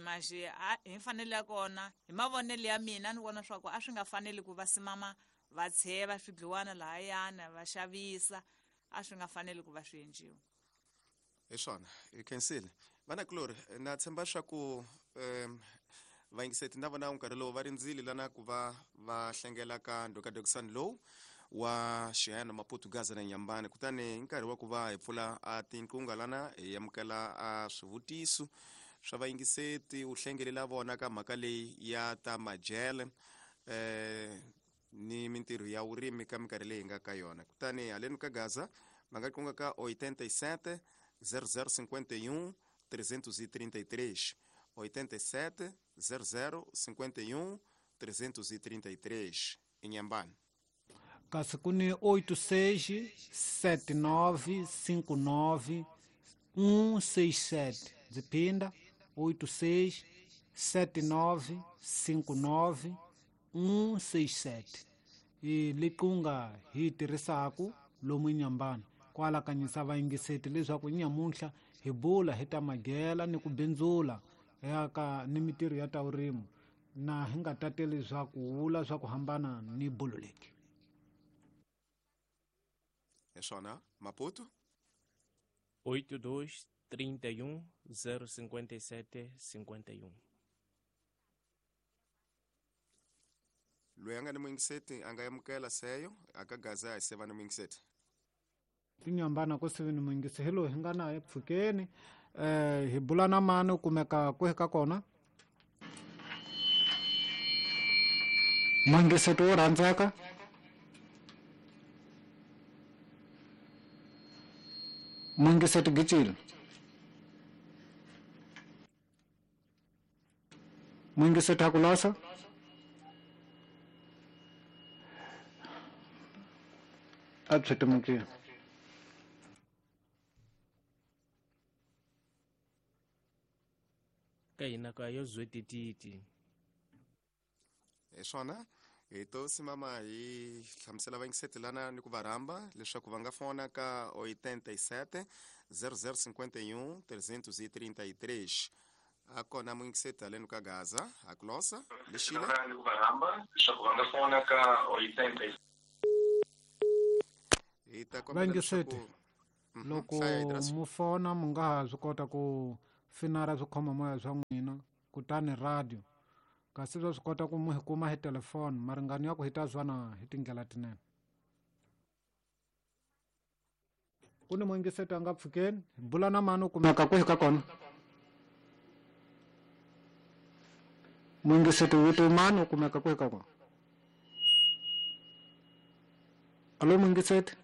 Maxi hi mfanelo ya kona, hi mavonelo ya mina ni vona swa ku a swi nga faneli ku va simama va tsheva swidliwana lahayana va xavisa, a swi nga faneli ku va swi endliwa. Hi swona hi khensile vanakulori, na tshemba swa ku vayingiseti na vona nkarhi lowu va rindzile lana ku va va hlengela ka ndhokadokisani lowu wa Xihayana Maputo Gaza na Nyambane. Kutani hi nkarhi wa ku va hi pfula a tinqunga lana hi amukela a swivutiso swa vayingiseti, u hlengelela vona ka mhaka leyi ya ta majele ni mintirho ya vurimi ka minkarhi leyi hi nga ka yona. Kutani haleni ka Gaza va nga qunga ka 87 0051 333, 87 0051 333 Inhambane. Kasi ku ni 86 79 59 167. Ndzi phinda 86 79 59 167. I liqunga hi tirhisaku lomu Inhambane kwalakanyisa vayingiseti leswaku nyamuntlha hi bula hi ta magela ni ku bindzula ya ka ni mintirho ya ta vurimi, na hi nga tateli swa ku vula swa ku hambana ni bolo leki. Hi swona Maputo 82 31 057 51. Loyi a nga ni muyingiseti a nga amukela seyo aka Gaza hi seva ni muyingiseti. Tinyambana ku sivi ni muyingisi hi loyi hi nga na epfukeni. Hi bula na mani u kumeka kwihi ka kona? Muyingiseti wo rhandzeka. Muyingiseti Gicile. Muyingiseti Hakulasa. A byi timukile. Ka hina ka yo zwetititi. Hi swona hi to simama hi hlamusela vayingiseti lana ni ku va rhamba leswaku va nga fona ka 87 0051 333. A kona muyingiseti haleni ka Gaza a ku losa lexile ni ku va rhamba leswaku va nga fona ka 87. Hi ta kombela Vayingiseti, leswaku loko hlaya Idris. Mu fona mu nga ha swi kota ku finara swikhoma-moya swa n'wina kutani radio, kasi swa swi kota ku mu hi kuma hi telefoni maringano ya ku hi ta zwana hi tindlela tinene. Ku ni muyingiseti a nga pfukeni, hi bula na mani, u kumeka kwihi ka kona? Muyingiseti, vito mani, u kumeka kwihi ka kona? Alo, muyingiseti,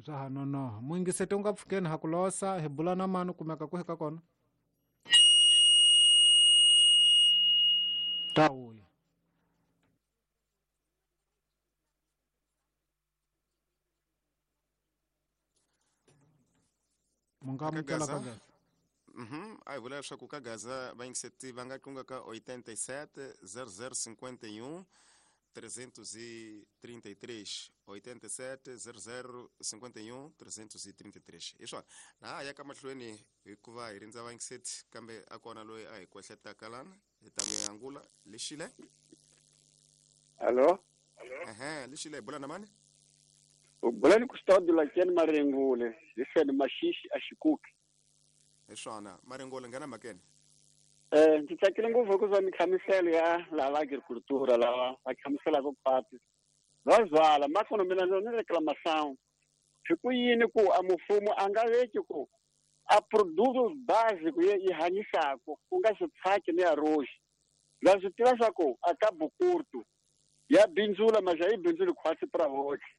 swa ha nonoha. Muyingiseti, u nga pfukeni, ha ku losa. Hi bula na mani, u kumeka kwihi ka kona? Ta vuya. Mu nga Eka amukela ka Gaza. Gaza. A hi vula leswaku ka Gaza vayingiseti va nga tlunga ka 87 0051 333, 87 0051 333. Hi swona na ha ya ka mahlweni hikuva hi rindza vayingiseti, kambe a kona loyi a hi kwehletaka lana, hi ta mi angula. Lexile. Allo? Ehe, lexile, hi bula na mani? U bula ni Custódio Lakeni Marengule, hi fene Maxixi a Xikuki. Hi swona, Marengule, nghena mhakeni. Ndzi tsakile ngopfu hikuva minhlamuselo ya lava agricultura lava va hlamuselaka khwati va zwala makono mina ni reclamação hi ku yini ku a mfumo a nga veki ku a produto básico yi hanyisaka ku nga switshaki ni arroz. Va swi tiva swa ku a ka bukurtu ya bindzula, mas a yi bindzuli khwatsi pra voxe.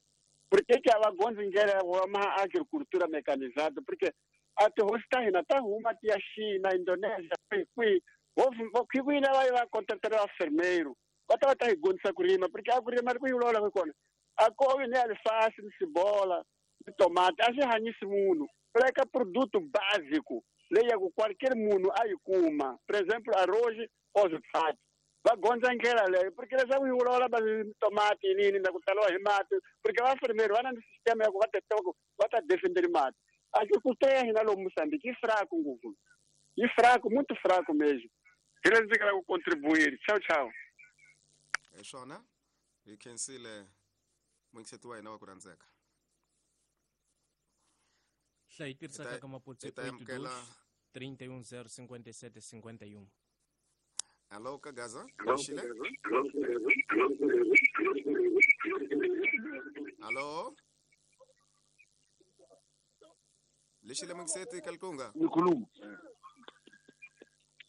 Porque que a va gondzi ndlela ya ma agricultura mecanizada, porque a tihosi ta hina ta huma ti ya China, Indonesia, kwihi kwihi, vo kwini va yi va contratela va fermeiro va ta va ta hi gondzisa ku rima, porque a ku rima ku yi vulavulaka hi kona a kovi ni alifasi ni sibola ni tomati a swi hanyisi munhu. Ku laveka produto básico leyi ya ku qualquer munhu a yi kuma, por exemplo arroz or switshaki. Va gondza ndlela leyo, porque leswaku yi vulavula va tomati yinini na ku taliwa hi mati, porque vafermeri va na ni sistema ya ku va ta tiva ku va ta defenderi mati. Agricultura ya hina lomu Mozambique yi fraco ngopfu, yi fraco, muito fraco mesmo. Hi leswi ndzi nga ku contribuir. Ciao, ciao. Hi swona, hi khensile muyingiseti wa hina wa ku rhandzeka. Hlayi tirhisaka ka maputsu Hi ta amukela. 31 057 51. Alo, ka Gaza, lexile. Alo, lexile, muyingiseti ka likunga. Nikhuluma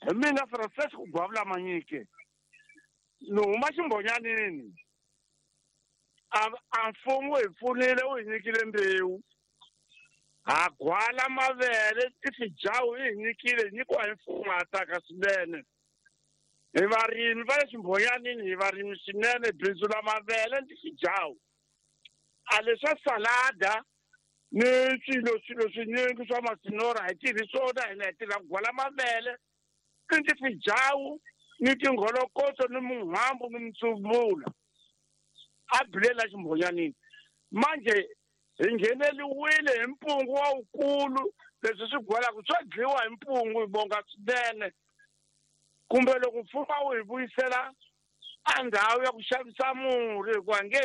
hi mina Francisco Gwavula Manyike, ni huma Ximbonyanini. A mfumo hi pfunile, wu hi nyikile mbewu, ha gwala mavele, tifijawu yi hi nyikile, hi nyikiwa hi mfumo, ha tsaka swinene. Hi varimi va le Ximbonyanini, hi varimi swinene, bindzu la mavele ni tifijawu. A leswa salada ni swilo swinyingi swa masinora hi tirhi swona hina, hi tirha ku gwala mavele ni tifijawu ni tingholokoto ni muhambu ni mitsuvula a bilela Ximbonyanini. Manje hi ngheneliwile hi mpungu wa wukulu, leswi swi gwalaka swo dliwa hi mpungu. Hi bonga swinene, kumbe loko mfumo wu hi vuyisela a ndhawu ya ku xavisa murhi, hikuva nge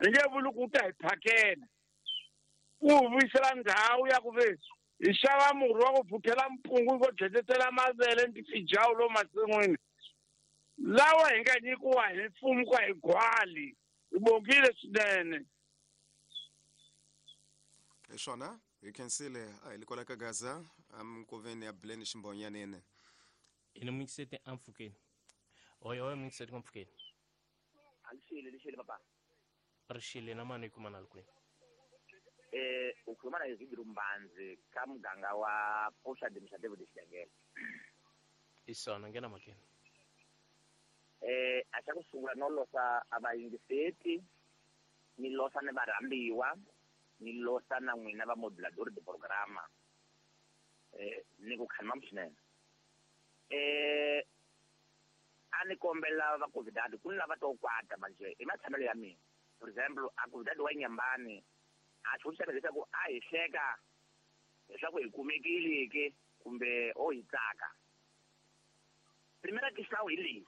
hi nge vuli ku ta hi phakela, wu hi vuyisela ndhawu ya ku ve hi xava murhi wa ku phuthela mpungu vo dletetela mavele ni tifijawu lo masin'wini lawa hi nga nyikiwa hi mfumo ku hi gwali. Hi bongile swinene. Hi swona, hi khensile. A hi le kwala ka Gaza aminkoveni ya Buleni Ximbonyanini. Hi ni muyingiseti ampfukeni. Oyo, oyo, muyingiseti ka mpfukeni. Alishile, lishile papa. Rixile na mani, hi kuma na kwini? Ukhuluma na Izidru Mbanzi ka muganga wa Poxa de David Xidengele. Hi swona, nghena mhakeni. A xa ku sungula no losa a vayingiseti, ni losa ni varhambiwa, ni losa na n'wina va modulador de programa. Ni ku khanima swinene. A ni kombela va convidado ku ni lava to kwata manje i matshamelo ya mina. For example, a convidado wa Nyambani a xivutiso xa leswaku a hi hleka leswaku hi kumekile ke kumbe o hi tsaka. Primera questão hi leyi.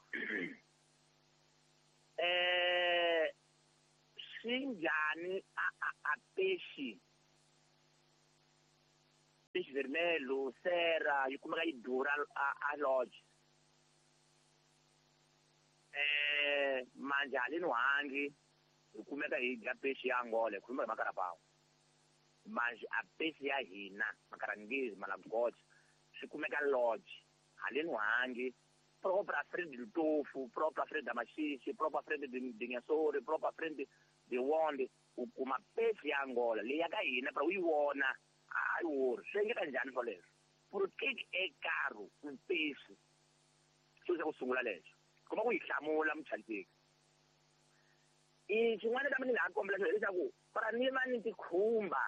Swi njhani a peixe peixe vermelho sera yi kumeka yi durha a lodge. Manje haleni hangi hi kumeka hi dya peixe ya Angola hi khuluma hi makarapao. Manje a peixe ya hina makarangezi malagocha swi kumeka lodge haleni hangi própria frente do Tofo, própria frente da Maxixe, própria frente de Nhassori, própria frente de Wonde, u kuma peixe ya Angola leyi ya ka hina pra u yi vona a yi wori swi endleka njhani swoleswo? Por que é caro um peixe? Xo xa ku sungula lexo kuma ku yi hlamula muchayiseki. I xin'wana kambe ni nga ha kombela xona hileswaku para ni va ni tikhumba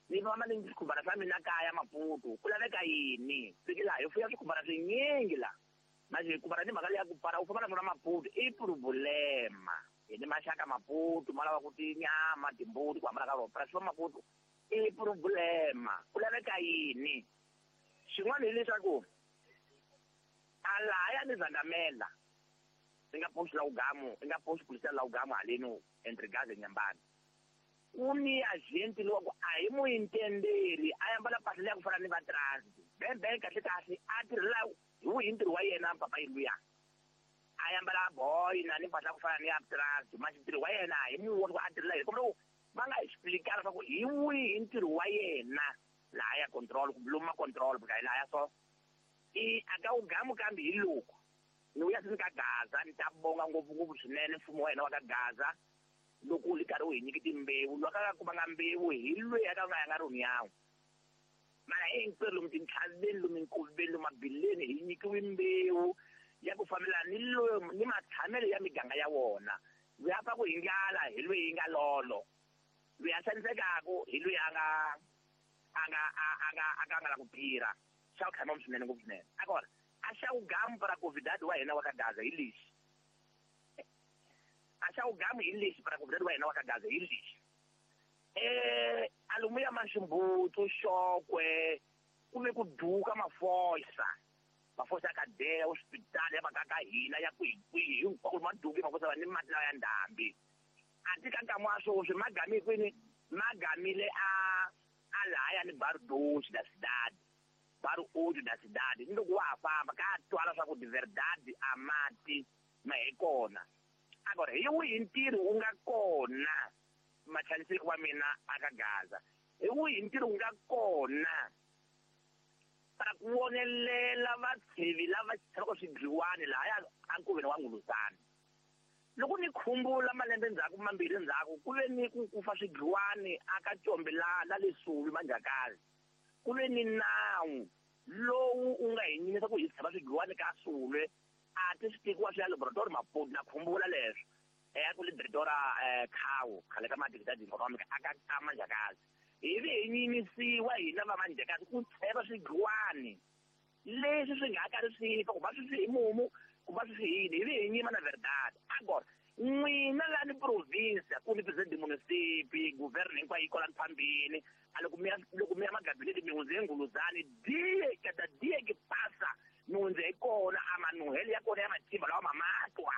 ni famba ni swikhumbana swa mina kaya Maputo ku laveka yini? Fiki laha hi fuya swikhumbana swinyingi laha manje ku ni mhaka leya ku para u famba na swona Maputo i problema. Hi ni maxaka Maputo ma lava ku tinyama timbuti ku hambana ka rona para swi va Maputo i problema. Ku laveka yini? Xin'wana hileswaku a lahaya ni Zandamela i nga post la ugamu i nga post policial la ugamu haleni entre Gaza Nyambani ku ni agent lowa ku a hi mu intenderi a ambala mpahla leya ku fana ni va transit bembe kahle kahle a tirhela hi wihi ntirho wa yena papa yi luya a ambala boy na ni mpahla ku fana ni ya transit manje ntirho wa yena hi mu vona ku a tirhela hi kumbe va nga explicar leswaku hi wihi ntirho wa yena laha ya control ku luma control ku lahaya so i aka ugamu kambe hi loko ni vuya se ni ka Gaza ni ta bonga ngopfungopfu swinene mfumo wa hina wa ka Gaza loko wu ri karhi wu hi nyiki timbewu loyi a ka kumanga mbewu hi loyi a ka nga ya nga ri yawu mara hinkwerhu lomu tintlhaveni lomu minkoveni lomu mabileni hi nyikiwe mbewu ya ku fambelana ni lomu ni matshamelo ya miganga ya wona. Loyi a pfaku hi ndlala hi loyi yi nga lolo, loyi a xanisekaka hi loyi a nga a nga a nga a nga nga la ku tirha. Xa ku tlhama swinene ngopfu swinene. Agora a xa ugamu para convidado wa hina wa ka Gaza hi lexi. A xa ugamu hi lexi para convidado wa hina wa ka Gaza hi lexi. Alomu ya Maximbuto Xokwe ku ve ku duka mafosa. Mafosa ya ka deya hospitali ya va ka hina ya kwihi kwihi hinkwako ma duki mafosa va ni mati lawa ya ndhambi. A ti ka nkama wa sweswi ma gamile kwini? Ma gamile a lahaya ni Bardoshi da cidade. Baru oito da cidade. Ni loko wa ha famba ka twala swa ku de verdade a mati ma hi kona. Agora hi wihi ntirho wu nga kona machayiseki wa mina aka Gaza? Hi wihi ntirho wu nga kona para ku vonelela vatshivi lava tshamaka swidliwani lahaya ankoveni wa Nguluzana? Loko ni khumbula malembe ndzhaku mambirhi ndzhaku ku ve ni ku kufa swidliwani aka Combe la le Suvi Manjakazi. Ku ve ni nawu lowu u nga hi nyimisa ku hi tshama swidliwani ka Sulwe a ti swi tekiwa swi ya laboratory Maputo na khumbula leswo. Ku le Directora Khawu khale ka Madigidadi Economic aka ka Manjakazi. Hi ve hi nyimisiwa hina va Manjakazi ku tsheva swidliwani leswi swi nga karhi swi fa ku va swi hi mumu ku va swi yini hi ve hi nyima na verdade. Agora n'wina la ni province ku ni president munisipi governor hinkwayo yi kwala phambili a loko mi ya magabinete mi hundze Nguluzani die kada die ke pasa mi hundze hi kona a manuhelo ya kona ya matimba lawa mamatwa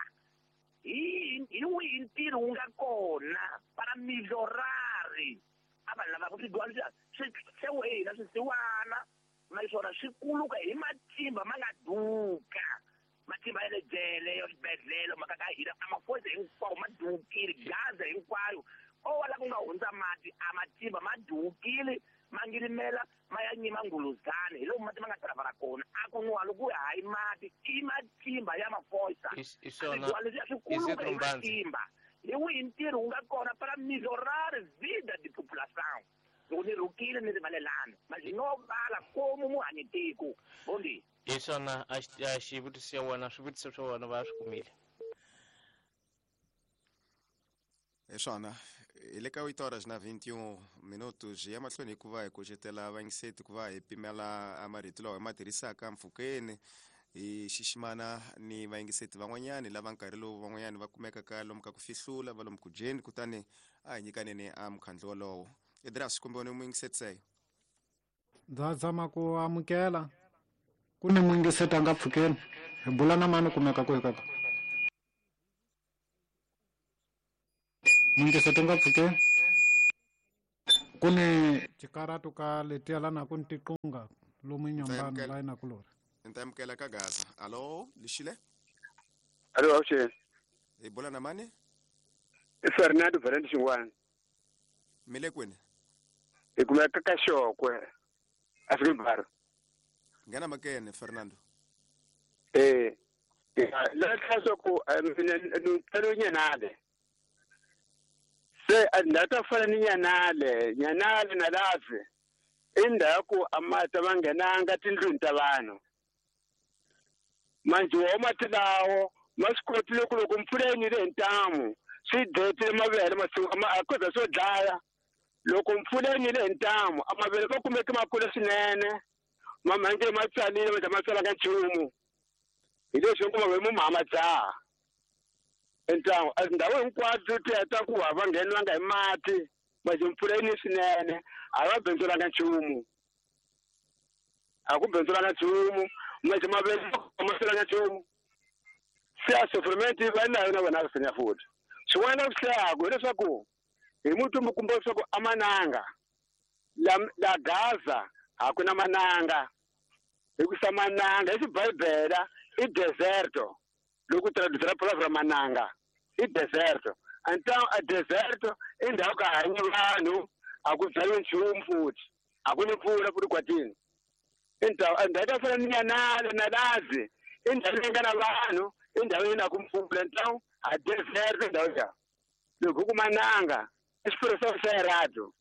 hi wihi ntirho wu nga kona para melhorari a vanhu lava ku swidliwani swi tlhewe hina swisiwana naswona swi kuluka hi matimba ma nga duka. Matimba ya le jele ya swibedhlele mhaka ka hina a mafosa hinkwawo ma dukile Gaza hinkwayo o wa la ku nga hundza mati a matimba ma dukile ma ngirimela ma ya nyima Nguluzani hi lomu mati ma nga travala kona a ku nwa loko hayi mati i matimba ya mafosa leswi swi kuluka hi matimba. Hi wihi ntirho wu nga kona para melhorar vida de população? Loko ni rhukile ni rivalelana manje no vala komu muhanyi tiko bondi. Hi swona a xivutiso xa wena swivutiso swa wena va swi kumile. Hi swona hi le ka 8 horas na 21 minutos hi ya mahlweni hikuva hi kucetela vayingiseti ku va hi pimela marito lawa hi ma tirhisaka mpfhukeni. Hi xiximana ni vayingiseti van'wanyani lava nkarhi lowu van'wanyani va kumekaka lomu ka ku fihlula va lomu ku dyeni, kutani a hi nyikaneni a mukhandlu wolowo. Edras, kumbe wena muyingiseti seyo? Ndza zama ku amukela ku ni muyingiseti a nga pfukeni. Hi bula na mani kumeka ku hi kaka? Muyingiseti nga pfukeni. Ku ni tikaratu ka letiya lana ku ni tiqunga lomu Inhambane la inakulori. Ni amukela ka Gaza. Alo, lixile? Alo, avuxeni. Hi bula na mani? I Fernando Valente Xingwana. Mi le kwini? Hi kumeka ka Xokwe, Afrika. Nghena makene, Fernando. La swa ku mina ni tsalo Nyanale. Se ndhawu ta fana ni Nyanale, Nyanale na Lave. I ndhawu ku a mati ma nghenanga tindlwini ta vanhu. Manjhe wo mati lawo ma swi kotile ku loko mpfula yi nile hi ntamu swi dletile mavele a koza swo dlaya. Loko mpfula yi nile hi ntamu a mavele ma kumeke ma kula swinene, mamhange ma tsalile ma ma tsalanga nchumu. Hi leswi ku mavele mo ma dzaha. Ntamu a ndhawu hinkwato ti heta ku va ngheniwanga hi mati, manjhe mpfula yi ni swinene a va bindzulanga nchumu. A ku bindzulanga nchumu, manjhe mavele ma tsalanga nchumu. Se a sofriment va na yona vona va futhi. Swin'wana ku hlayaku hileswaku hi mutumbu kumbe leswaku a mananga la Gaza a ku na mananga. Hikusa mananga hi xibibele i deserto. Loko traducir palavra mananga i deserto. Então a deserto i ndhawu ka hanyi vanhu, a ku byariwi nchumu futhi, a ku ni mpfula futhi kwatini. Então a ndhawu ta fana ni Nyanale na Lazi i ndhawu leyi nga na vanhu, i ndhawu leyi na ku mpfula. Então a deserto ndhawu ya. Loko ku mananga i expressão xa errado.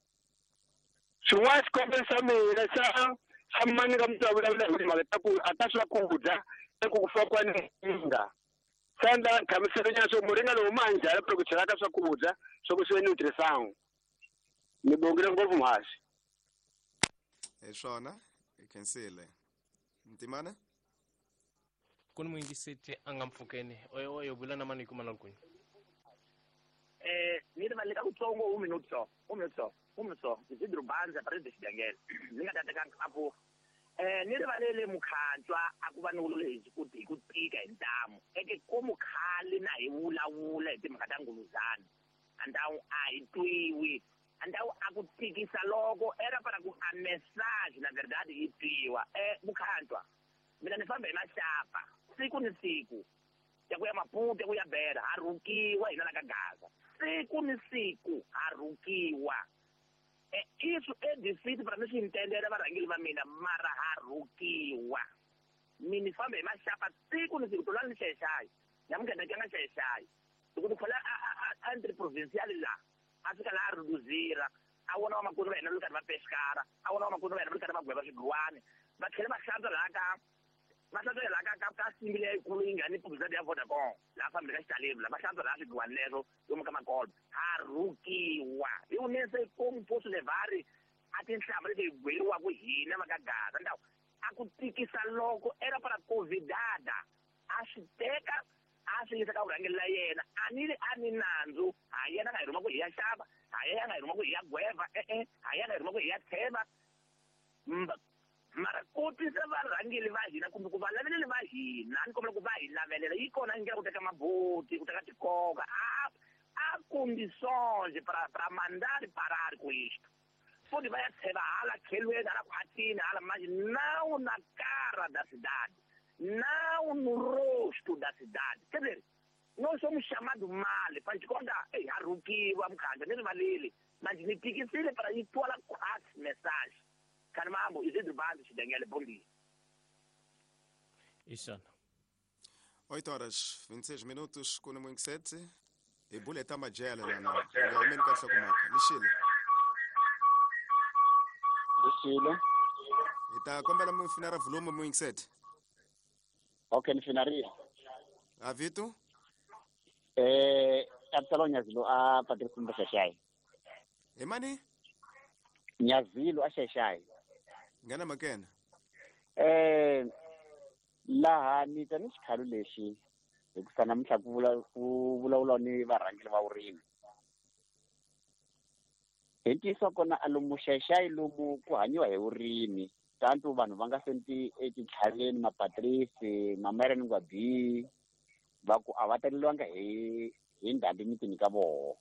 Swin'wana xikombelo xa mina xa mani ka mutwa vulavula hi timhaka ta ku a ta swakudya eku ku fakiwa ni muringa. Sa ndla nhlamuselo nyana swo muringa lowu ma njhani ku chela ka swakudya swa ku swi nutrição. Ni bongile ngopfu mhasi. Hi swona, hi khensile. Ntimana? Ku ni muyingiseti a nga mpfukeni. Oyo oyo bula na mani hi kuma na kwini? Ni rivalele ka kutsongo un minuto só, un minuto só, un minuto só. Isidro Banza presidente Xidengele. Ni nga ta teka apo. Ni rivalele mukhantswa a ku va ni vulavula hi ku hi ku tika hi ntamu. Eke ko mukhale na hi vulavula hi timhaka ta nguluzana. Andawu a hi twiwi. Andawu a ku tikisa loko era para ku a message na verdade yi twiwa. Mukhantswa mina ni famba hi maxapa siku ni siku. Ya ku ya Maputo, ya ku ya Beira, ha rhukiwa hina la ka Gaza. Siku ni siku ha rhukiwa. Isso é difícil para mim se entender varhangeri va mina, mara ha rhukiwa. Mina ni famba hi maxapa siku ni siku, tolani ni xayaxaya. Namuntlha ni tlanga xayaxaya. Loko ni khola a entre provincial la, a fika laha a rhuduzira, a vona vamakwerhu va hina va ri karhi va pexikara, a vona vamakwerhu va hina va ri karhi va gweva swigwani, va tlhela va hlantswa laha ka va hlantswa laha ka ka simbi leyikulu yi nga ni publicity ya Vodacom, laha fambeni ka Xitaleni la, va hlantswa laha swigwani leswo lomu ka makolo. Ha rhukiwa. Hi ku nese como posso levar a tinhlamba leti hi gweriwaka hina va ka Gaza. Ndhawu a ku tikisa loko era para convidada a swi teka a swi yisa ka vurhangeri la yena. A ni ri a ni nandzu, ha yena nga hi rhuma ku hi ya xava, ha yena nga hi rhuma ku hi ya gweva, e-e, ha yena nga hi rhuma ku hi ya tsheva. Mara kotisa varhangeri va hina kumbe ku va laveleli va hina, ni kombela ku va hi lavelela. Yi kona ndlela ku teka maboti, ku teka tikoka. A condições para mandar parar com isto. Futhi va ya tsheva hala tlhelweni, hala khwatini, hala manje, não na cara da cidade, não no rosto da cidade. Quer dizer, nós somos chamados mal, faz de conta, ei, ha rhukiwa mukhandla, ni rivaleli. Manje ni tikisile para yi twala khwatsi message. Carmambo, Isidro Banza, Xidengele, bom dia. Isana. 8 horas 26 minutos, com o 7. E buleta majela lá na. O homem ka hlokomaka. Lixile. Lixile. Ita kombela mu finara volume mu 7. Okay, ni finaria. Avito? Absalom Nyazilo a Patrick Mbashashai. Emani? Nyazilo a Shashai. Ngana makena. Laha ni ta ni xikhalo lexi hikusa namuntlha ku vula ku vulavula ni varhangeri va vurimi. Hi ntiyiso wa kona a lomu Xayi lomu ku hanyiwa hi vurimi tanto vanhu va nga senti etintlhaveni mapatrisi mamereni ngwabi va ku a va taleliwanga hi ndhambi mitini ka voho.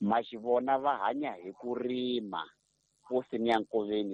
Maxivona va hanya hi ku rima posini ya nkoveni